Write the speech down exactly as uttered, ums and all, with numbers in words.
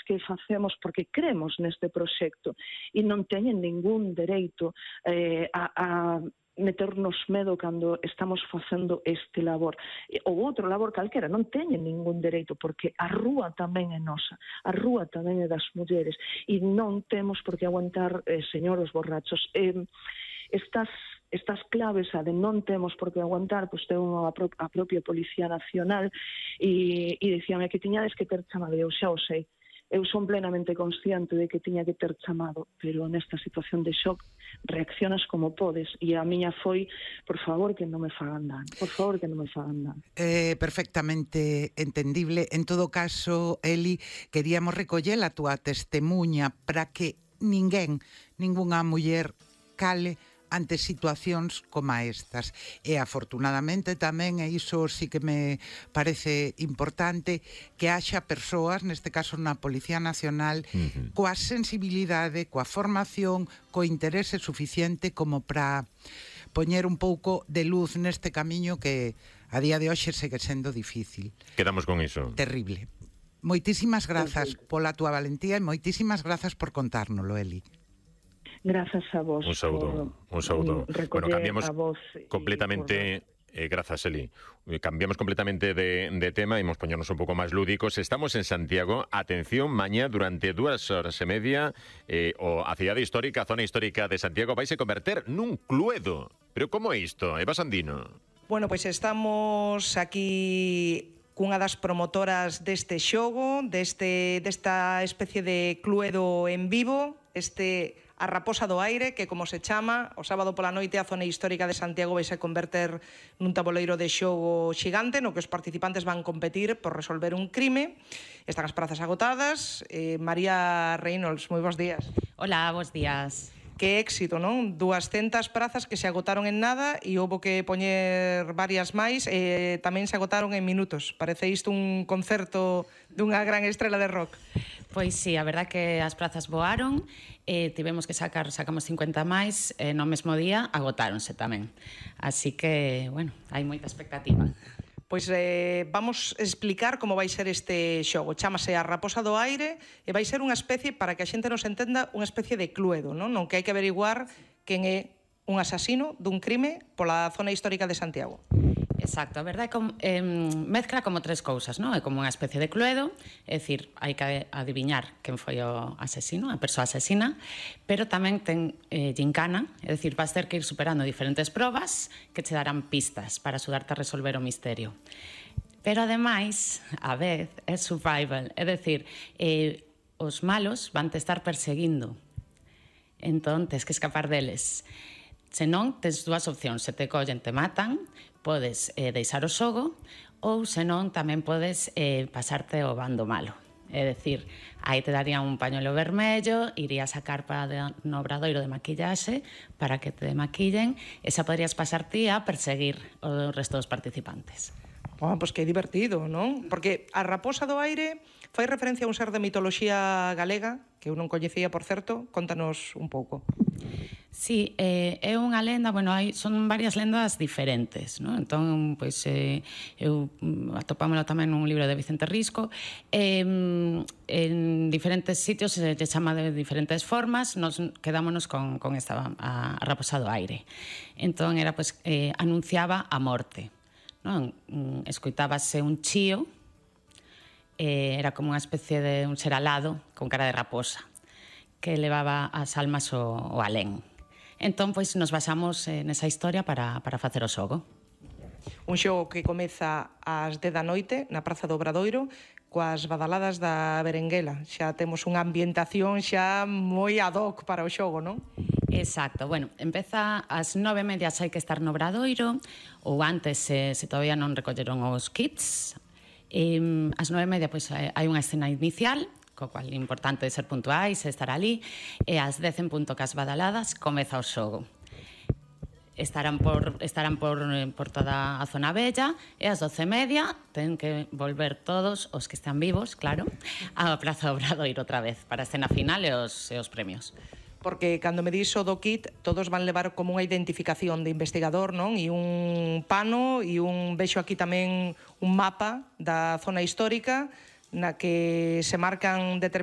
que facemos porque cremos neste proxecto e non teñen ningún dereito eh, a, a meternos medo cando estamos facendo este labor. Ou outro labor calquera, non teñen ningún dereito, porque a rúa tamén é nosa, a rúa tamén é das mulleres, e non temos por que aguantar, eh, señores borrachos. Eh, estas estas claves a de non temos por que aguantar, pois ten a, pro, a propia Policía Nacional e, e dicíame que tiñades que ter chamado, eu xa o sei. Eu son plenamente consciente de que tiña que ter chamado, pero nesta situación de shock reaccionas como podes, e a miña foi, por favor, que non me fagan dano, por favor, que non me fagan dano. Eh, perfectamente entendible. En todo caso, Eli, queríamos recoller a túa testemunha para que ninguén, ningunha muller cale ante situacións como estas. E afortunadamente tamén, e iso sí que me parece importante, que haxa persoas, neste caso na Policía Nacional, uh-huh. coa sensibilidade, coa formación, co interese suficiente como para poñer un pouco de luz neste camiño que a día de hoxe segue sendo difícil. Quedamos con iso. Terrible. Moitísimas grazas pola túa valentía e moitísimas grazas por contárnoslo, Eli. Grazas a vos. Un saúdo, un saúdo. Bueno, cambiamos completamente... Eh, grazas, Eli. Cambiamos completamente de, de tema e imos poñernos un pouco máis lúdicos. Estamos en Santiago. Atención, mañá durante dúas horas e media eh, o a cidade histórica, a zona histórica de Santiago vai se converter nun cluedo. Pero como é isto, Eva Sandino? Bueno, pois estamos aquí cunha das promotoras deste xogo, deste, desta especie de cluedo en vivo, este a Raposa do Aire, que como se chama, o sábado pola noite a zona histórica de Santiago vai se converter nun tabuleiro de xogo xigante no que os participantes van competir por resolver un crime. Están as prazas agotadas. Eh, María Reynolds, moi bons días. Hola, bons días. Que éxito, non? duascentas prazas que se agotaron en nada e houbo que poñer varias máis e tamén se agotaron en minutos. Parece isto un concerto dunha gran estrela de rock. Pois sí, a verdad que as prazas voaron, eh, tivemos que sacar, sacamos cincuenta máis, eh, no mesmo día agotáronse tamén. Así que, bueno, hai moita expectativa. Pois eh, vamos explicar como vai ser este xogo. Chámase a Raposa do Aire e vai ser unha especie, para que a xente nos entenda, unha especie de cluedo, non? Non que hai que averiguar quen é un asasino dun crime pola zona histórica de Santiago. Exacto, a verdade é que eh, mezcla como tres cousas, non? É como unha especie de cluedo, é dicir, hai que adiviñar quen foi o asesino, a persoa asesina, pero tamén ten eh, gincana, é dicir, vas ter que ir superando diferentes probas que che darán pistas para axudarte a resolver o misterio. Pero ademais, a vez, é survival, é dicir, eh, os malos van te estar perseguindo, entón tes que escapar deles. Se non, tes dúas opcións, se te collen, te matan, podes eh, deixar o xogo, ou se non, tamén podes eh, pasarte ao bando malo. É dicir, aí te darían un pañuelo vermello, irías a carpa de, no obradoiro de maquillaxe para que te maquillen, e xa podrías pasar ti a perseguir o resto dos participantes. Oh, pois que divertido, non? Porque a Raposa do Aire fai referencia a un ser de mitoloxía galega, que eu non coñecía, por certo. Contanos un pouco. Sí, eh, é unha lenda, bueno, hai, son varias lendas diferentes, non? Entón, pois, eh, eu atopámoslo tamén nun libro de Vicente Risco. Eh, en diferentes sitios se lle chama de diferentes formas, nos quedámonos con, con esta, a, a Raposa do Aire. Entón, era, pois, eh, anunciaba a morte, non? Escoitábase un chío, eh, era como unha especie de un ser alado con cara de raposa que levaba as almas ao, ao alén. Entón, pois, nos basamos eh, nesa historia para, para facer o xogo. Un xogo que comeza ás dez da noite na Praza do Obradoiro coas badaladas da berenguela. Xa temos unha ambientación xa moi ad hoc para o xogo, non? Exacto, bueno, empeza ás nove e media, hai que estar no Obradoiro, ou antes, se, se todavía non recolleron os kits. E, ás nove e media, pois, hai unha escena inicial, co cual é importante ser puntuais e estar ali, e ás dez en punto cas badaladas comeza o xogo. Estarán por, estarán por, por toda a zona bella, e ás doce e media ten que volver todos os que están vivos, claro, á Praza do Obradoiro outra vez, para a escena final e os, e os premios. Porque cando me dixo do kit, todos van levar como unha identificación de investigador, non? E un pano, e un, vexo aquí tamén un mapa da zona histórica na que se marcan determinadas